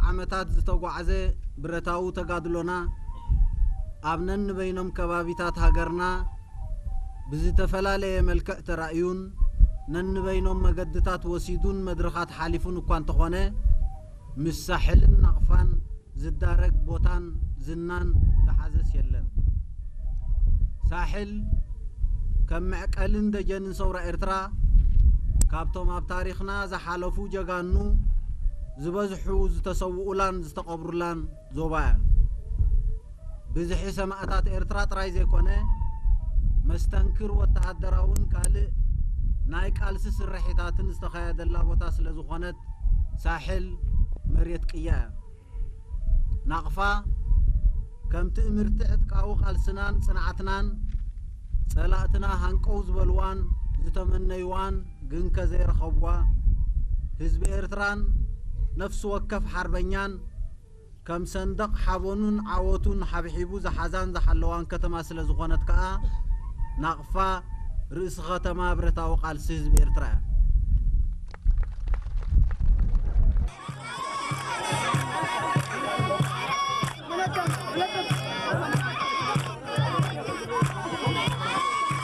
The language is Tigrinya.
ዓመታት ዝተጓዕዘ ብረታዊ ተጋድሎና ኣብ ነንበይኖም ከባቢታት ሃገርና ብዝተፈላለየ መልክዕ ተራእዩን ነንበይኖም መገድታት ወሲዱን መድረኻት ሓሊፉን እኳ እንተኾነ፣ ምስ ሳሕልን ናቕፋን ዝዳረግ ቦታን ዝናን ዝሓዘስ የለን። ሳሕል ከም መዕቀልን ደጀንን ሰውራ ኤርትራ፣ ካብቶም ኣብ ታሪኽና ዝሓለፉ ጀጋኑ ዝበዝሑ ዝተሰውኡላን ዝተቐብሩላን ዞባ እያ። ብዝሒ ሰማእታት ኤርትራ ጥራይ ዘይኮነ፣ መስተንክር ወተሃደራውን ካልእ ናይ ቃልሲ ስርሒታትን ዝተኻየደላ ቦታ ስለ ዝኾነት፣ ሳሕል መሬት ቅያ እያ። ናቕፋ ከም ትእምርቲ ዕጥቃዊ ቃልስናን ጽንዓትናን፣ ጸላእትና ሃንቀው ዝበልዋን ዝተመነይዋን ግንከ ዘይረኸብዋ፣ ህዝቢ ኤርትራን ነፍሲ ወከፍ ሓርበኛን ከም ሰንደቕ ሓበኑን ዓወቱን ሓብሒቡ ዝሓዛን ዝሓለዋን ከተማ ስለ ዝኾነት ከኣ፣ ናቕፋ ርእሲ ከተማ ብረታዊ ቃልሲ ህዝቢ ኤርትራ እያ።